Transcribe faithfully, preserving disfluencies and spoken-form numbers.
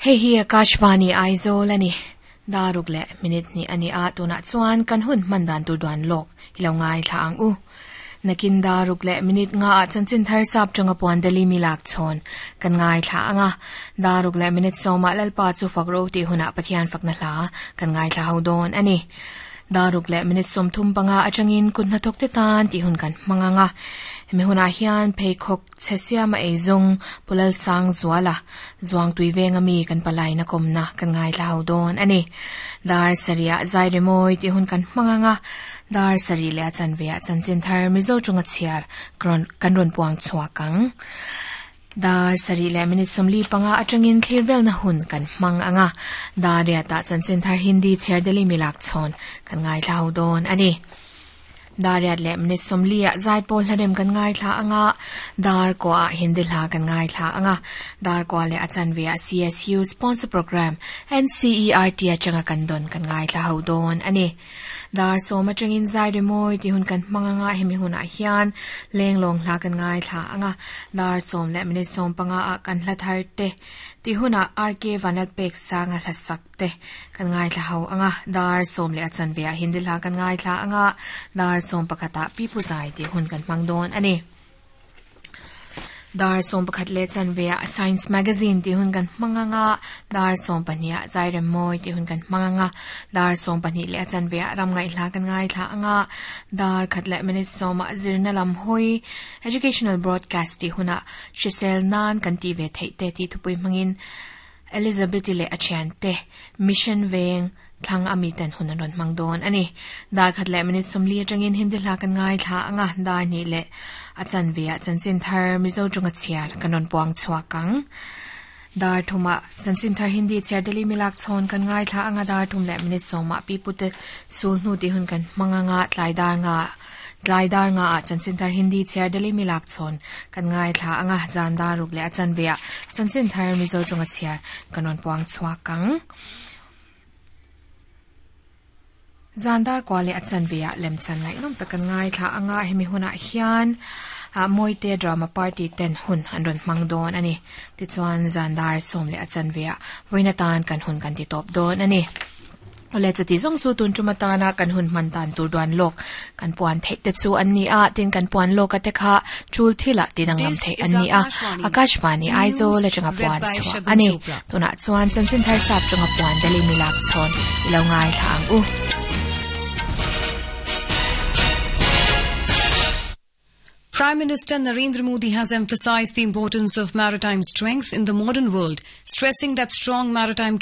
Hei hi Akashvani Aizawl ani. Daruk le minute ni ani a tuna chuan kan hun mandan tur duan lok ilo ngai thla ang u. Nakin daruk le minute nga a chanchin thar sap changa puan dali mi lak chon kan ngai thla anga daruk le minute soma lalpa chu fakro ti huna pathian fakna hla kan ngai thla ho don ani. Daruk le minute som thum panga atangin kunna thok te tan ti hun kan manganga mi huna hian pheikhok chesia ma eizong pulal sang zuala zuang tui venga mi kan palai na komna kan ngai thla ho don ani. Dar saria zai remoi ti hun kan manganga dar sari le chan ve chan chin thar mizo chunga chiar kron kan ron puang chua kang dar sari le minute somli panga atangin thirvel na hun kan mang anga dar ya ta chan chin thar hindi chiar deli milak chon kan ngai thlau don ani. Dar ya le minute somli a zai pol harem kan ngai thla anga dar ko a hindi hla kan ngai thla anga dar ko le achan ve C S U sponsor program N C E R T achanga kan don kan ngai thla ho don ani. Dar soma changin zai re moi ti hun kan manganga hemi hun a hian lenglong hla kan ngai thla anga dar som le minute som panga a kan hla thar te ti huna R K vanal pek sanga hla sak te kan ngai thla ho anga dar som le achan ve a hindi hla kan ngai thla anga dar som pakhata pi pu zai ti hun kan mangdon ani. Dar som pakhat le chan ve a science magazine ti hun kan manganga dar som pania zai rem moi ti hun kan manganga dar som pani le chan ve ram ngai hla kan ngai thla anga dar khat le minute soma zirna lam hoi educational broadcast ti huna shisel nan kan ti ve thei te ti thupui mangin Elizabeth le achian te mission veng thlang ami ten hun ron mangdon ani. Dar khat le minute somli atangin hindi hla kan ngai thla anga dar ni le achan ve chan chin thar mizo chunga chiar kanon puang chua kang dar thuma chan chin thar hindi chiar deli milak chon kan ngai thla anga dar thum le minute soma pi pute sul nu ti hun kan manganga tlai dar nga tlai dar nga a chan chin thar hindi chiar deli milak chon kan ngai thla anga jan dar ruk le achan ve chan chin thar mizo chunga chiar kanon puang chua kang Zandar kwale achan via lem chan ngai nom takan ngai thla anga hemi huna hian a moite drama party ten hun an ron mangdon ani. Ti chuan zandar som le achan via voina tan kan hun kan ti top don ani. Ole chati zong chu tun chuma na kan hun man tan tur duan lok kan puan thei te chu an ni a tin kan puan lok ate kha chul thila tinang lam thei an ni a Akashvani Aizawl le changa puan chu ani tuna chuan chanchin thar sap changa puan dali milak chon ilo ngai thang u. Prime Minister Narendra Modi has emphasized the importance of maritime strength in the modern world, stressing that strong maritime